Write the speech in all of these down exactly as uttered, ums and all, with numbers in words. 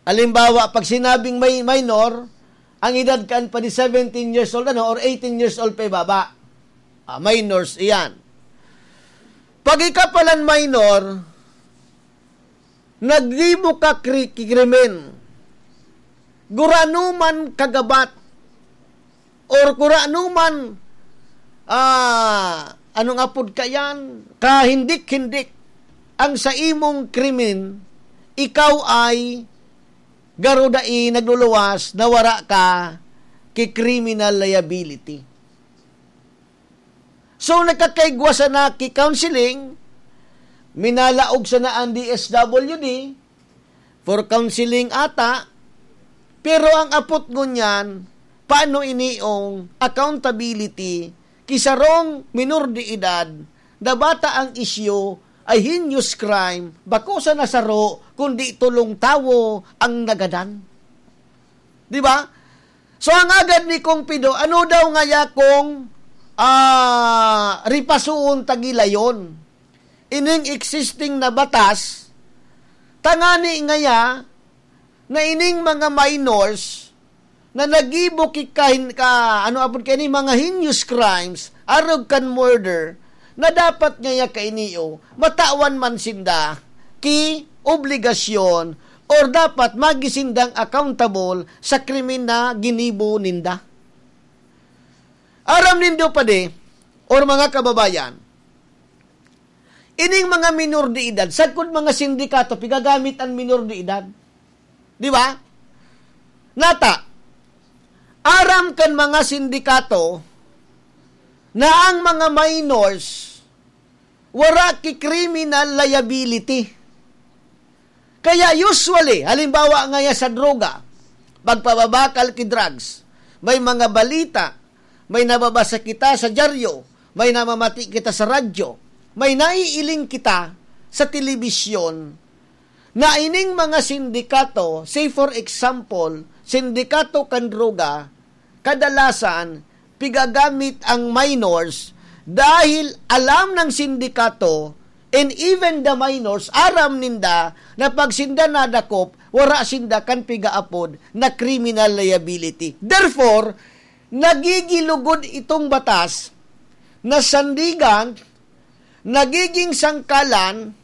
Halimbawa, pag sinabing may minor, ang edad kan pa di seventeen years old, ano, or eighteen years old pa ibaba. Ah, minors, iyan. Pag ika palan minor, naggibo ka kri-, kikrimen, gurano man kagabat, or gurano man, ah, anong apod ka yan, kahindik-hindik ang sa imong krimen, ikaw ay garo dai nagluluwas na wara ka ki criminal liability. So, nakakaigwa sana ki counseling, minalaog sana ang D S W D for counseling ata, pero ang apot ngunyan, paano iniong accountability ki sarong minor de edad na bata ang isyu ay heinous crime, bako sana saro, kundi tolong tawo ang nagadan. Di ba? So, ang agad ni Kong Pido, ano daw ngaya kung, ah, ripasuon ta gilayon ining existing na batas, tangani ngaya na ining mga minors na naggibo ki kahin-, ka, ano apod kaini, mga heinous crimes, arog kan murder, na dapat ngaya kaini, o, matawan man sinda ki obligasyon or dapat magi sindang accountable sa krimen na ginibo ninda. Aram nindo, padi, or mga kababayan, ining mga minor de edad, sagkod mga sindikato, pigagamit an minor de edad. Di ba? Nata, aram kan mga sindikato na ang mga minors wara ki criminal liability. Kaya usually, halimbawa ngaya sa droga, pagpababakal ki drugs, may mga balita, may nababasa kita sa dyaryo, may namamati kita sa radyo, may naiiling kita sa telebisyon, na ining mga sindikato, say for example, sindikato kan droga, kadalasan pigagamit ang minors dahil alam ng sindikato and even the minors, aram ninda na pag sinda nadakop, wara sinda kan pigaapod na criminal liability. Therefore, nagigilugod itong batas na sandigan, nagiging sangkalan,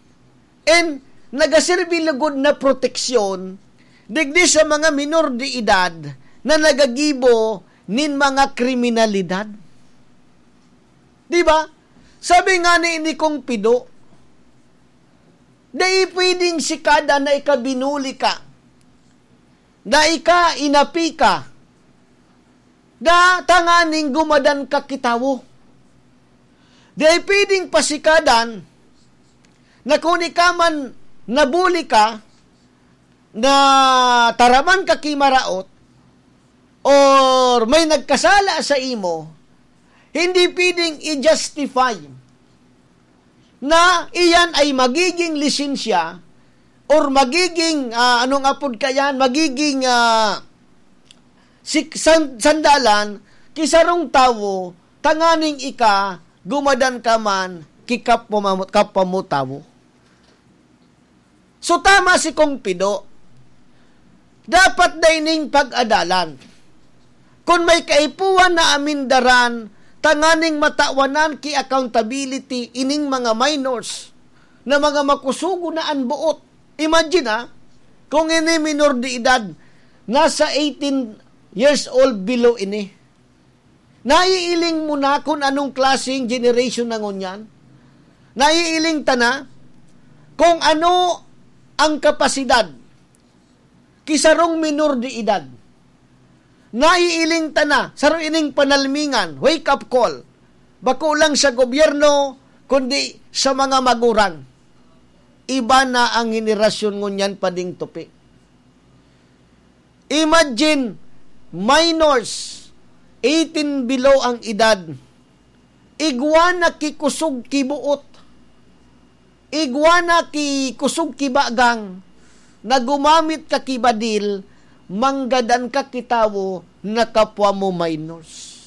and nagaserbi lugod na proteksyon digdi sa mga minor de edad na nagagibo nin mga kriminalidad. Di ba? Sabi nga ni, ni Kong Pido, dai pwedeng sikada na ika binuli ka, na ika inapi ka, na tanganing gumadan ka ki tawo. Dai pwedeng pasikadan na kun ika man nabuli ka, na taraman ka ki maraot, or may nagkasala sa imo, hindi pwedeng i-justify na iyan ay magiging lisensya or magiging, ah, anong apod ka yan, magiging, ah, sik-, san-, sandalan ki sarong tawo tanganing ika gumadan ka man ki kapwa mo, kapwa mo tawo. So, tama si Kong Pido. Dapat dai ning pag-adalan. Kun may kaipuhan na amindaran, tanganing matawanan ki accountability ining mga minors na mga makusugo na an boot. Imagine, ha, kung ini minor de edad, nasa eighteen years old below ini. Naiiling mo na kun anong klaseng generation na ngunyan? Naiiling ta na kung ano ang kapasidad ki sarong minor de edad. Naiiling ta na, saro ining panalmingan, wake up call. Bako lang sa gobyerno, kundi sa mga magurang. Iba na ang henerasyon ngunyan, pading tupi. Imagine, minors, eighteen below ang edad, igwa na ki kusog ki boot, igwa na ki kusog ki bagang, na gumamit ka ki badil, manggadan ka ki tawo na kapwa mo minors.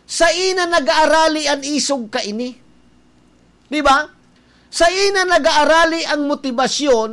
Saina nag-aarali an isog kaini. Di ba? Saina nag-aarali ang motibasyon